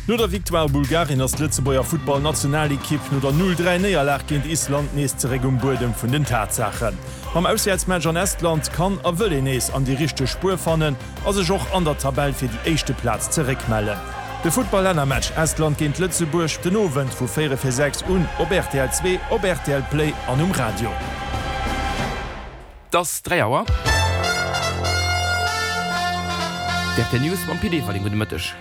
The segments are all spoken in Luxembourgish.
No der Victoire Bulgarien ass d'Lëtzebuerger Futtball-Nationalekipp no der 0, 3 Néierlag géint Island nees zeréck um Buedem vun den Tatsaachen. Mam Auswäertsmatch an Estland kann a wëll een nees an déi richteg Spuer fannen a sech och an der Tabell fir déi éischte Plaz zeréckmellen. De Futtball-Lännermatch Estland géint Lëtzebuerg den Owend vu 4 vir 6 un op rtl 2, op rtl Play an um Radio. 't ass 3 Auer. D'RTL News mam Pit Everling. Gudde Mëtteg.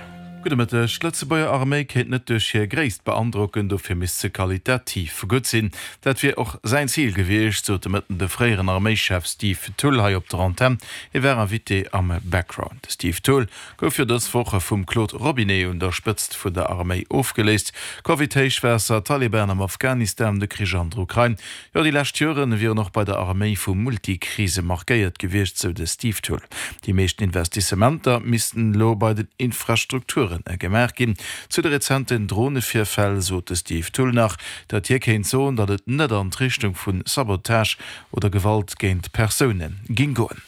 Gudde Mëtteg. D'Lëtzebuerger Arméi kéint net duerch hir Gréisst beandrocken, dofir misst se qualitativ gutt sinn. Dat wier och säin Zil gewiescht, sot de Mëtten de fréieren Arméischef Steve Thull hei op der Antenn. Hie war Invité am Background. De Steve Thull gouf jo dës Woch vum Claude Robinet un der Spëtzt vun der Arméi ofgeléist. Covid, Héichwaasser, Taliban am Afghanistan, de Krich an der Ukrain, jo déi lescht Joren wieren och bei der Arméi vu Multikrise markéiert gewiescht, sou de Steve Thull. Déi meeschten Investissementer missten elo bei den Infrastrukture gemaach ginn. Zu de rezenten Dronevirfäll sot de Steve Thull nach, datt hie kéint soen, datt et net an d'Richtung vu Sabotage oder Gewalt géint Persoune géing goen.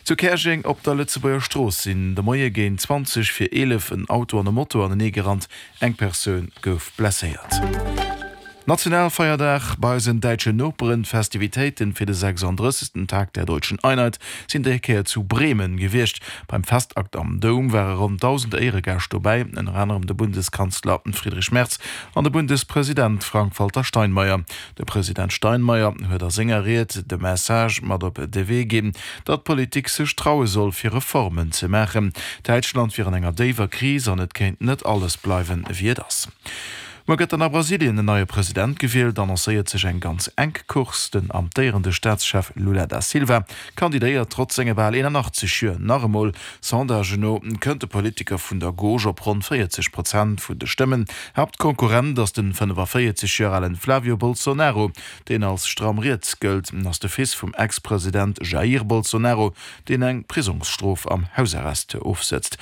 Zu Käerjeng op der Lëtzebuerger Strooss sinn de Moie géint 20 vir 11 en Auto an e Moto anenee gerannt. Eng Persoun gouf blesséiert. Nationalfeierdag bei eisen däitschen Noperen, D'Festivitéiten fir de 36. Tag der Deutschen Einheit sinn déi Kéier zu Bremen gewiescht. Beim Festakt am Doum ware ronn 1.000 Éieregäscht dobäi, ënner anerem de Bundeskanzler Friedrich Merz an de Bundespresident Frank-Walter Steinmeier. De President Steinmeier huet a senger Ried de Message mat op de Wee ginn, datt d'Politik sech traue soll fir Reformen ze maachen. Däitschland wier an enger déiwer Kris an et kéint net alles bleiwen, wéi et ass. Muer gëtt dann a Brasilien en neie President gewielt, annoncéiert sech eng ganz enk Course. Den amtéierende Staatschef Lula da Silva kandidéiert trotz senge bal 81 Joer nach emol. Sondagen no kënnt de Politiker vun der Gauche op ronn 40 Prozent vun de Stëmmen. Haaptkonkurrent ass den 45 Joer alen Flavio Bolsonaro, deen als stramm riets gëllt, ass de Fils vum Ex-President Jair Bolsonaro, deen eng Prisongsstrof am Hausarrest ofsëtzt.